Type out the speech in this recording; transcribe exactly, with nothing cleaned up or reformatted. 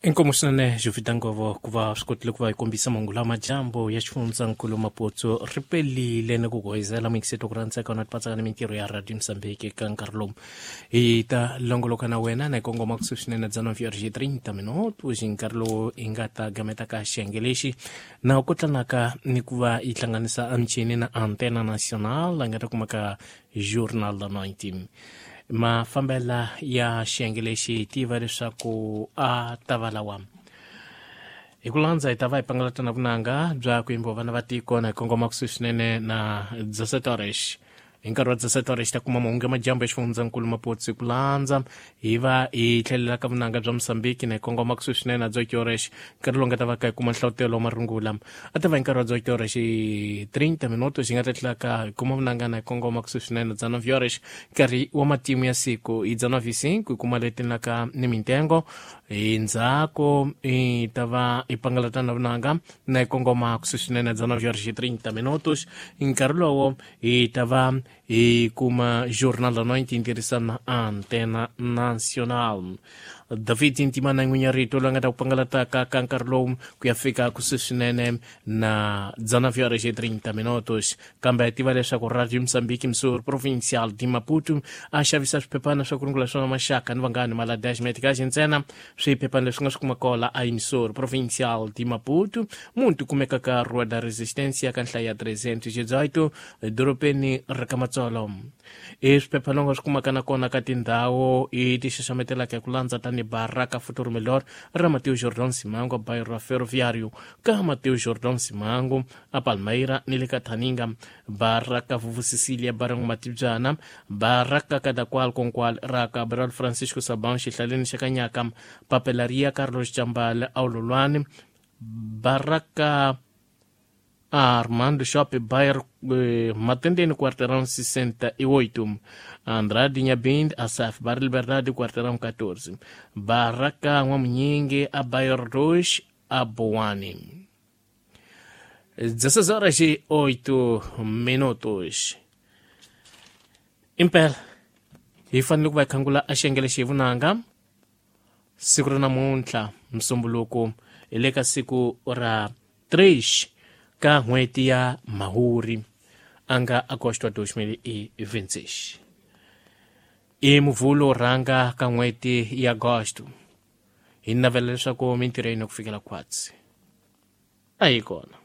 Inkomu swinene Jovita Ngovo ku va swi kotile ku va hi kombisa mahungu lama dyambu ya xifundzankulu Maputo ri pelile ni ku goyizela muyingiseti ku rhandzeka na tipatsaka ni mintirho ya Radio Mozambique ka nkarhi lowu hi ta longoloka na wena na hi kongoma kusuhi swinene bya nove horas e trinta minutos hi nkarhi lowu hi nga ta gameta ka xiyenge lexi na ku tlanaka ni ku va yi hlanganisa emichini na Antena Nacional la nga ta kumaka Journal da Noite. Mafambela ya xiyenge lexi hi tiva leswaku a ta va lawa hi ku landza hi ta va hi pangalata na vunanga bya ku yimbiwa vana va tiko na hi kongoma kusuhi swinene na dezessete horas hi nkarhi wa dezessete horas ta kuma mahungu ya madyambu ya xifundzankulu Maputo hi ku landza hi va hi tlhelela ka vunanga bya Mozambique na hi kongoma kusuhi swinene na dezoito horas nkarhi lowu nga ta va ka hi kuma nhlavutelo wa marungula a ta va hi nkarhi wa dezoito horas hi trinta minutos hi nga ta tlhela ka hi kuma vunanga na hi kongoma kusuhi swinene na dezenove horas nkarhi wa matimu ya siku hi dezenove e cinco hi kuma leti naka ni mintengo hi ndzhaku hi ta va hi pangalata na vunanga na hi kongoma kusuhi swinene na dezenove horas e trinta minutos nkarhi lowo hi ta va hi kuma Jornal da Noite tirhisana Antena Nacional. David Ntimana n'winya rito la nga ta ku pangalataka ka nkarhi lowu ku ya fika kusuhi swinene na dezenove horas e trinta minutos kambe hi tiva leswaku Radio Mozambique Msur Provincial de Maputo a xavisa swiphephana swa ku rungula swona maxaka ni vanghani maladash metikaxi ntsena swiphephana leswi nga swi kuma kola a Msur Provincial de Maputo muntu kumeka ka Rua da Resistência ka nhlayo ya trezentos e dezoito dorobeni ra ka Matsolo i swiphephana nga swi kumaka na kona ka tindhawu i ti xaxametelaka hi ku landza tani Barraca Futuro Melhor ra Mateo Jordão Simango bairro Ferroviário ka Mateo Jordão Simango a Palmeira ni le ka Thaninga Barraca Vuvu Cecília Barão Matibyana Barraca Cadaqual Conqual ra Cabral Francisco Sabão xihlaleni xa Kanyaka Papelaria Carlos Jambal Aulolwane Barraca Armando Shopping bairro eh, Matendene quarteirão sessenta e oito Andrade Nhabind Asaf Bar Liberdade quarteirão quatorze Barraca Nwamunyingi a bairro dois a Boane. dezesseis horas e oito minutos. Impela hi fanele ku va hi khangula a xiyenge lexi hi vunanga siku ra namuntlha Musumbuluko hi le ka siku ra três ka n'hweti ya Mhawuri a nga agosto dois mil e vinte e seis i Muvhulo rhanga ka n'hweti ya agosto hi navela leswaku mintirho yini ku fikela khwatsi a yi kona.